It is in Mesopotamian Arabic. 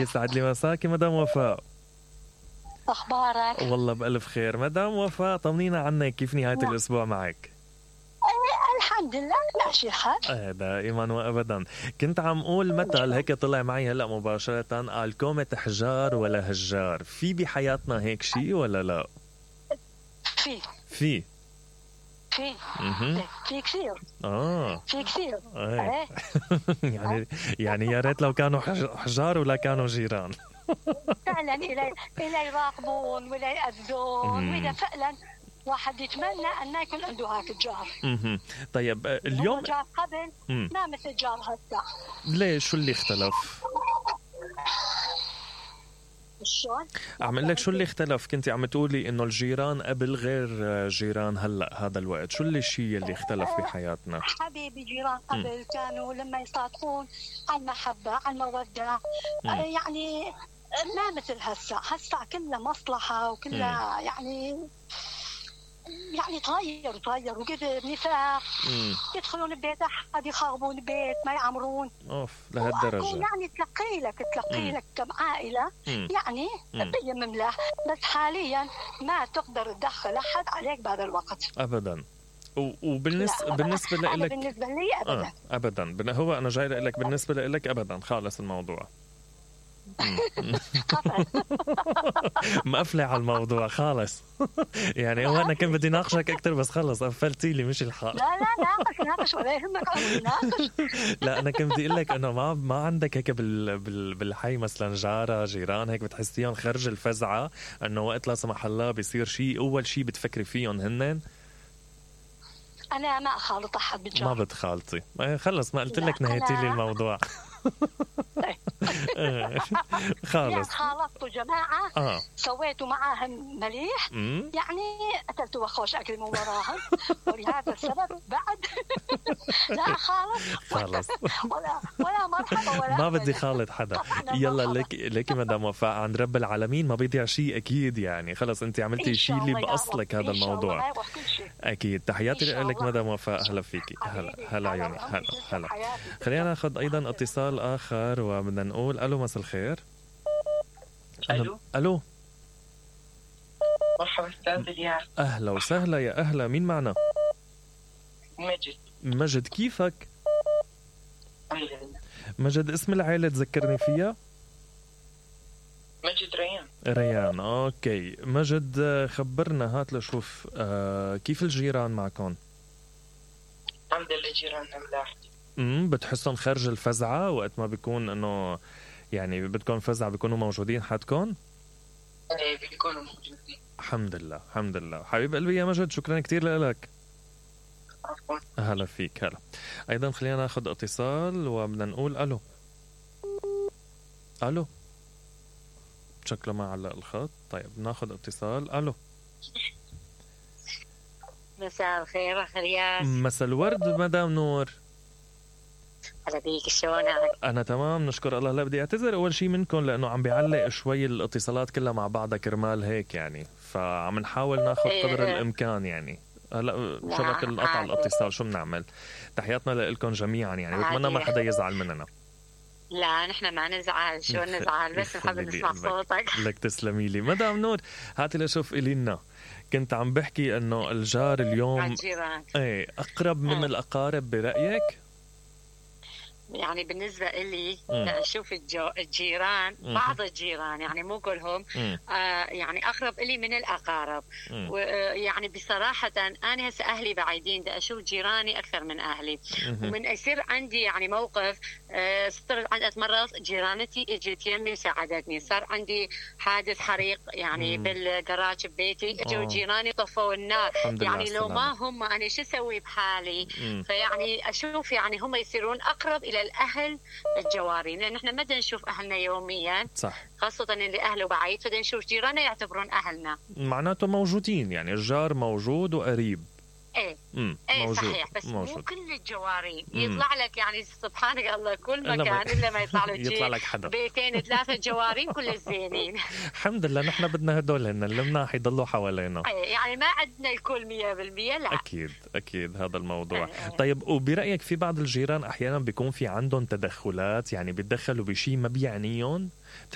يسعد لي مساكي مدام وفاء. أخبارك؟ والله بألف خير مدام وفاء، طمنينا عنك، كيف نهاية الأسبوع معك؟ الحمد لله ماشي الحال. دائما وأبدا. كنت عم أقول مثل هيك طلع معي هلأ مباشرة، قال كومة حجار ولا هجار، في بحياتنا هيك شيء ولا لا؟ في كثير. في كثير. يعني يا ريت لو كانوا حجار ولا كانوا جيران. فعلا إلى يراقبون ولا يأذون، وإذا فعلا واحد يتمنى أن يكون عنده هاك الجار. طيب اليوم جار قبل ما مثل جار هسه. ليش؟ شو اللي اختلف؟ شلون؟ عم اقول لك شو اللي اختلف. كنتي عم تقولي انه الجيران قبل غير جيران هلا هذا الوقت، شو الشيء اللي اختلف بحياتنا؟ حبيبي جيران قبل كانوا لما يصادقون على المحبة على المودة، يعني ما مثل هسه كلها مصلحة وكلها يعني تغير وكذا نفاق. يدخلون البيت أحد يخربون البيت ما يعمرون. لهالدرجة يعني تلقي لك كم عائلة يعني بيمم له، بس حاليا ما تقدر تدخل أحد عليك بهذا الوقت أبدا. بالنسبة لك بالنسبة لي أبدا. هو أنا جاي لك بالنسبة لك أبدا خالص الموضوع. مقفلة على الموضوع خالص. يعني هو أنا كنت بدي ناقشك أكتر بس خلص قفلتي لي مش الحال. لا ناقش ولا يهمك ناقش. لا أنا كنت بدي أقول لك إنه ما عندك هيك بالحي مثلا جارة جيران هيك بتحسيهم خرج الفزعة إنه وقت لا سمح الله بيصير شيء أول شيء بتفكري فيهم هنن؟ أنا ما أخالط أحد بالجار. ما بتخالطي؟ خلص ما قلت لك نهيتي لي الموضوع. خالص خالطوا جماعة سويتوا معاهم مليح، يعني أكلتوا وخوش أكل من وراهم، ولهذا السبب بعد لا خالص ولا مرحبا ولا ما بدي خالط حدا. يلا لك مدام وفاء عند رب العالمين ما بيضيع شيء أكيد. يعني خلص أنت عملتي شيء اللي بأصلك هذا الموضوع أكيد. تحياتي لك مدام وفاء. هلا فيكي. هلا عيوني. هلا خلينا ناخذ أيضا اتصال آخر وبدنا نقول ألو مساء الخير. ألو مرحبا أستاذ إلياس. أهلا وسهلا. يا أهلا، مين معنا؟ مجد كيفك؟ مجد اسم العائلة تذكرني فيها؟ مجد ريان. أوكي مجد خبرنا هات لشوف كيف الجيران معكم؟ الحمد لله جيراننا ملاح. بتحسهم خارج الفزعة وقت ما بيكون انه يعني بدكم فزعة بيكونوا موجودين حدكم؟ بيكونوا موجودين. الحمد لله حبيب قلبي يا مجد، شكرا كتير لك. عفوا. هلا فيك. هلا ايضا خلينا ناخذ اتصال وبدنا نقول الو شكله ما علق الخط. طيب ناخذ اتصال. الو مساء الخير أخرياس. مساء الورد مدام نور. هلا بيك، شلونك؟ أنا تمام نشكر الله. لا بدي أعتذر أول شيء منكم لأنه عم بيعلق شوي الاتصالات كلها مع بعضها كرمال هيك يعني، فعم نحاول ناخذ قدر الإمكان يعني. هلا شبك القطع الاتصال شو بنعمل. تحياتنا لكم جميعا يعني، بتمنى ما حدا يزعل مننا. لا نحن ما نزعل، شو نزعل بس نحب نسمع صوتك. لك تسلمي لي مدام نور. هاتي لشوف إلينا، كنت عم بحكي انه الجار اليوم اقرب من الاقارب برأيك؟ يعني بالنسبة إلي أشوف الجيران بعض الجيران يعني مو كلهم يعني أقرب إلي من الأقارب. ويعني بصراحة أنا هسه أهلي بعيدين، دا أشوف جيراني أكثر من أهلي. ومن يصير عندي يعني موقف صرت عندي مرات جيرانتي اجت يمي وساعدتني. صار عندي حادث حريق يعني بالجراج ببيتي، اجوا جيراني طفوا النار. يعني لو ما هم أنا شو أسوي بحالي؟ فيعني أشوف يعني هم يصيرون أقرب إلى الأهل الجوارين، لأن إحنا ما نشوف أهلنا يوميا. صح. خاصة اللي أهله بعيد، فنشوف جيراننا يعتبرون أهلنا. معناته موجودين يعني الجار موجود وقريب. ايه موجود. صحيح، بس موجود. مو كل الجوارين يطلع لك، يعني سبحانك الله كل مكان الا ما يطلع لك يطلع لك حدا 2 3 جوارين كل زينين. الحمد لله نحن بدنا هدول هن اللي مناح يضلوا حوالينا. يعني ما عندنا الكل 100%. لا اكيد هذا الموضوع. طيب وبرايك في بعض الجيران احيانا بيكون في عندهم تدخلات، يعني بيتدخلوا بشيء ما بيعنيهم؟